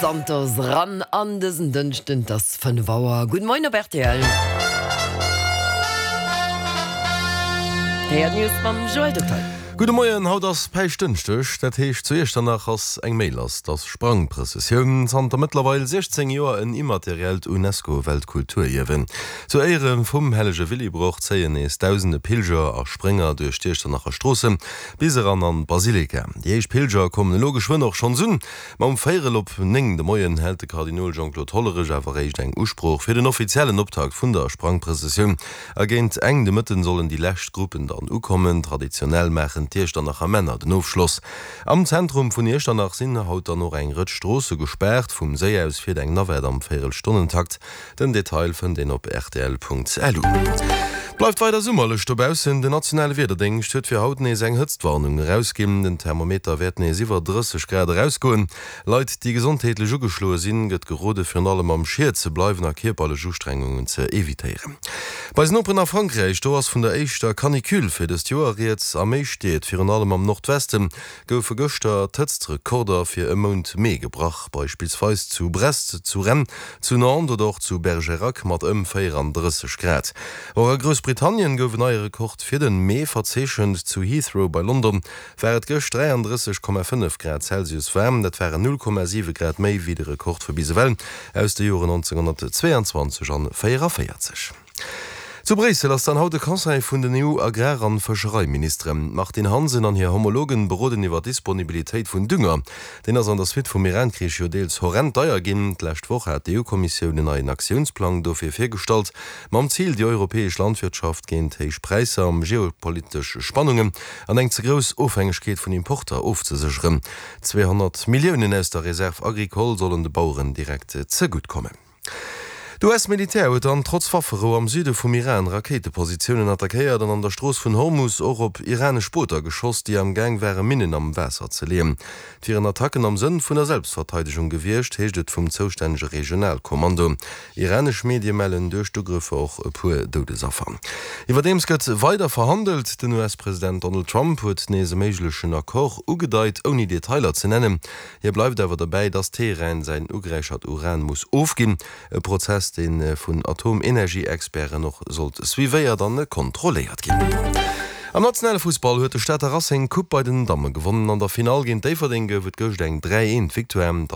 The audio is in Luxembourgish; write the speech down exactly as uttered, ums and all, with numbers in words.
Santos ran an dësen Dënschden, et ass fënnef Auer. Gudde Moien op rtl. D'Héiert News mam Joël Detaille. Gudde Moien, haut ass Päischtdënschdeg, dat heescht zu Iechternach ass eng Méi lass, 't ass Sprangprëssessioun, zanter mëttlerweil siechzéng Joer en immateriellt Unesco-Weltkulturierwen. Zu Éiere vum hellege Willibrord zéien nees dausende Pilger a Sprénger duerch d'Iechternacher Stroosse bis eran an d'Basilika. Déi éischt Pilger kommen elo geschwënn och schonns un, ma um véierel op néng de Moien hält de Kardinol Jean-Claude Hollerich awer eréischt eng Usprooch fir den offiziellen Optakt vun der Sprangprëssessioun. A géint eng de Mëtten sollen déi lescht Gruppen dann ukommen. Traditionell maachen d'Iechternacher Männer den Ofschloss. Am Zentrum vun Iechternach sinn haut dann och eng Rëtsch Stroosse gespaart. Vum Séi aus fiert eng Navette am Véierelstonnentakt. Den Detail fënnt een op rtl.lu. Et bleift weider summerlech dobaussen. Den nationale Wiederdéngscht huet fir haut nees eng Hëtztwarnung erausginn. Den Thermometer wäert nees iwwer drësseg Grad erausgoen. Leit, déi gesondheetlech ugeschloe sinn, gëtt gerode virun allem am Schiet ze bleiwen a kierperlech Ustrengungen ze evitéieren. Bei eisen Noperen a Frankräich, do ass vun der éischter Canicule fir dëst Joer rieds. A méi Stied, virun allem am Nordwesten, goufe gëschter d'Hëtztrekorder fir e Mount Mee gebrach, beispillsweis zu Brest, zu Rennes, zu Nantes oder och zu Bergerac mat ëm véierandrësseg Grad. Och a Groussbritannien gouf en neie Rekord fir de Mee verzeechent. Zu Heathrow bei London war et gëscht dräiandrësseg Komma fënnef Grad Celsius waarm. Dat waren null Komma siwe Grad méi wéi de Rekord vu bis ewell aus de Joren nonzénghonnertzweeanzwanzeg an véieraféierzeg. Zu Bréissel ass dann haut de Conseil vun den E U-Agrar an Fëschereiministeren. D'Martine Hansen an hir Homologen beroden iwwer d'Disponibilitéit vun Dünger. Deen ass an der Suite vum Iran-Krich jo deels horrend deier ginn. D'lescht Woch hat d'E U-Kommissioun en neien Aktiounsplang dofir virgestallt, mam Zil, déi europäesch Landwirtschaft géint héich Präisser, geopolitesch Spannungen an eng ze grouss Ofhängegkeet vun Importer ofzesécheren. Zweehonnert Milliounen aus der Réserve agricole sollen de Baueren direkt zegutt kommen. D' U S-Militär huet dann trotz Wafferou am Süde vum Iran Rakéitepositiounen attackéiert an an der Strooss vun Hormus och op iranesch Booter geschoss, déi am Gaang ware Minnen am Waasser ze leeën. Et wieren Attacken am Sënn vun der Selbstverteidegung gewiescht, heescht et vum zoustännege Regionalkommando. Iranesch Medie mellen duerch d'Ugrëffer och e puer Doudesaffer. Iwwerdeems gëtt weider verhandelt. Den U S-President Donald Trump huet nees e méiglechen Accord ugedeit, ouni Detailer ze nennen. Hie bleift awer derbäi, datt Teheran säin ugeräichert Uran muss ofginn, e Prozess, dee vun Atomenergie-Experten och sollt suivéiert an kontrolléiert ginn. Am nationale Fussball huet de Stater Racing d'Coupe bei den Damme gewonnen. An der Finall géint Déifferdeng gouf et gëscht eng dräi eent Victoire.